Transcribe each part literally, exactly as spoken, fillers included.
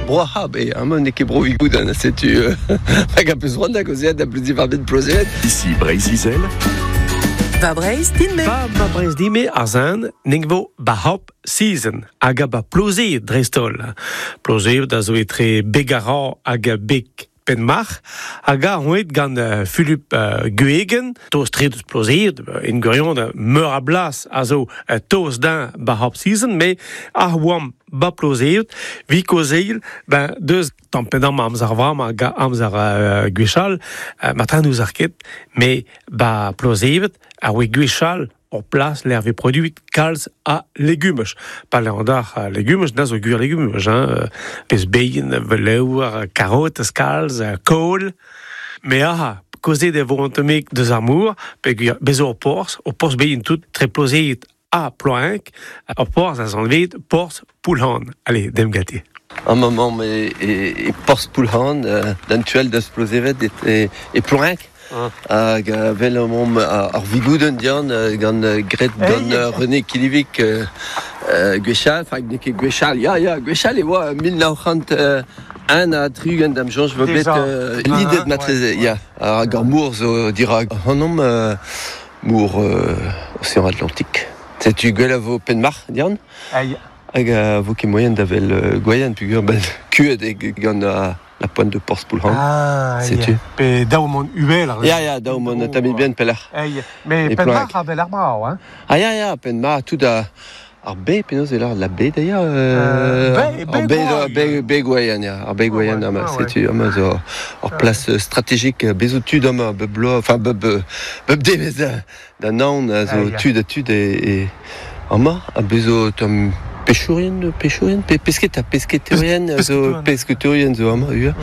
Bro ar C'hab eo, amañ n'eo ket bro Vigoudenn, setu euh, hag a peus c'hoant da gaozeal da bleuziñ war-benn Plozévet. Ici Breizh-Izel. Va Breizh din-me. Ba ba Breizh dime ar zin ning vo ba hop season hag a ba Plozévet dreist-holl. Plozévet a zo etre Begara hag Beg Penmarc'h hag a roet gant uh, Philippe uh, Guegen, toz tre deus Plozévet, en gwirion meur a blas a zo uh, toz din ba hop season, me ar oam ba Plozévet, vi kozeil, ben deus tampedam amzer vam hag amzer uh, gwechall, uh, matran ouz ar ket, me ba Plozévet a oe gwechall ur plas l'er vez produit kalz a legumaj. Pa l'er a legumaj, na zo gwir legumaj, hein. Pez beien, velour, karotes kalz, kohl. Me aha, kozet e vo an tammig deus ar mor, pe gwir bezo ur porzh, ur porzh beien tout, tre Plozévet ha Ploenk, ur porzh a zanvet porzh Poulhan. Allez, dem gati. Un moment e, e, e porzh Poulhan, euh, d'an tuel deus Plozévet e, e, e Ploenk. Hag uh, vel omp ar Vigoudenn dian gant gret gant uh, René Quillivic uh, uh, gwechall, enfin n'eo ket gwechall, ya ya, gwechall e oa mil nav c'hant uh, un ha tri-ugent da'm soñj vo bet uh, lidet matreze, ya. Hag ar mor zo dirak ac'hanomp uh, mor uh, Océan Atlantique. Setu gwell a vo Penmarc'h dian? Ai. Hag a vo ket moyen da vel uh, Gwaien pugur ben kuet e gant uh, la pointe de Porzh Poulhan. Ah, Setu. ya. Pe daou mont uvel ar Ya, ya, daou mont tamit bien pelec'h. Ei, me E Penmarc'h Ploenk. a vel ar brav, hein. Ah ya, ya, Penmarc'h, tout a... Ar be, penaos eo la be d'ailleurs Euh, euh, be- ar be be, Gwaien. be, be Gwaien, ya, ar be Gwaien, Ah ouais, ama, ah ouais. setu, ama zo ur plas stratégique, bezo tud ama, bep bloaz, enfin, bep, bep devez da, da naon, a zo Ah, ya. tud a tud e, e ama, a bezo tamm pechourien, pechourien, pe, pesketa, pesketerien, Pes- zo pesketerien zo ama, ua.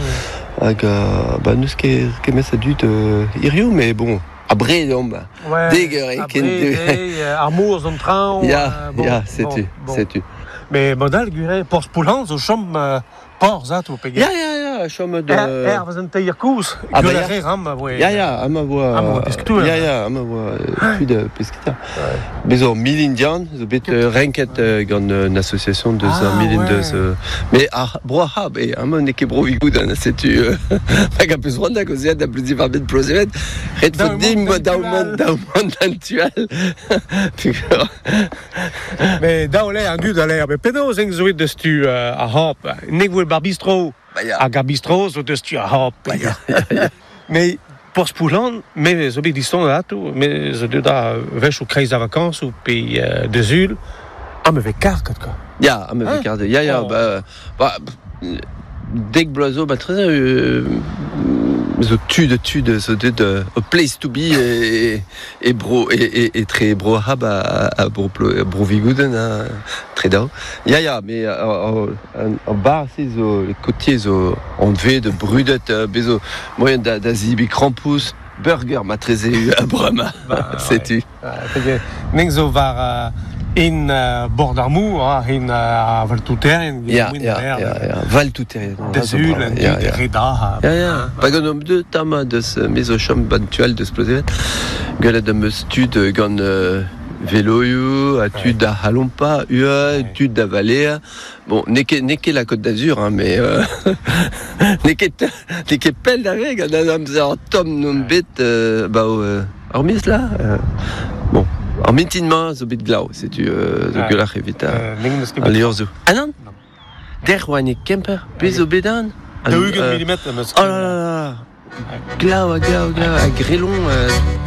Hag, uh, ba, neus ket, ket mes a dud euh, hirio, mais bon, a bred omp, ba. Ouais, Deg eur e a ken bred, de- eh, ar mor zo an traoñ. Ya, euh, bon, ya, setu, bon, bon. setu. Mais modal gwir Porzh Poulhan zo chom euh, porzh ato pe Ya, ya, ya, chom de... Er, er vez an teir kouz, Ah, bah, gwell ya. a re ram, voe. Ya, ya, ama voa... Ama voa pesketour. Ya, ya, ama voa tud uh, pesketa. Bez ur milin dian, zo bet uh, renket uh, gant un association deus Ah, ar milin ouais. deus... Uh, mais ar bro ar C'hab, e ama n'eo ket bro Vigoudenn, setu... Uh, hag a peus c'hoant da gaozeal da bleuziñ war-benn Plozévet, ret Daou fo dimp mont daou d'an mont, daou mont d'an tual. Pugur. Mais daou le an dud a l'air, mais penaos eng zo deus tu euh, ar hop. Nek voe bar bistro, Ba ya. hag ar bistro zo deus tu ar hop. Ba ya, ya, ya. Mais Porzh Poulhan, me zo bet diston ato, me zo deut da wech o kreiz a vacances ou pe euh, deus ul, ah me vez kar kat quoi. Ya, ama Hein vez kar Ya, ya, Oh. ba... Ba, dek bloaz zo, ba treze, euh, zo tud, tud, zo deut uh, a place to be e, e bro, e, e, e tre bro ar C'hab a, a bro, Plo- bro Vigoudenn, ha, tre daou. Ya, ya, me ar, ar bar se zo, le côtier zo anvet, brudet, euh, bezo moyen da, da zibi krampouezh, burger ma treze a brema, Ba, setu. Ouais. Neng zo war euh, in uh, bord ar mor, ha, in uh, a valtouterien, Ya, ya, ya, ya, valtouterien. Deus ul, an Ya, dud ya. re da. ha. Ya, ya. Pa gant omp deut tama deus euh, me zo chom ban tual deus Plozévet. Gwelet am eus tud euh, gant euh, veloioù, a tud da halompa, ua, tud da valea. Bon, n'eo ket, n'eo ket la Côte d'Azur, hein, mais euh, n'eo ket, n'eo ket pell da re gant an amzer tomm n'omp bet euh, ba o, euh, ar miz là. Euh, bon, ar mintin-mañ zo bet glav, setu euh, zo Ouais. gwelloc'h evit a, Euh, neng neus ket a bet. liorzhoù. Ah non? Non. Der oa ne Kemper, bez zo bet an? Daou-ugent Euh, milimetr am eus Oh là là là. Glav, ha glav, glav, ha grelon. Euh,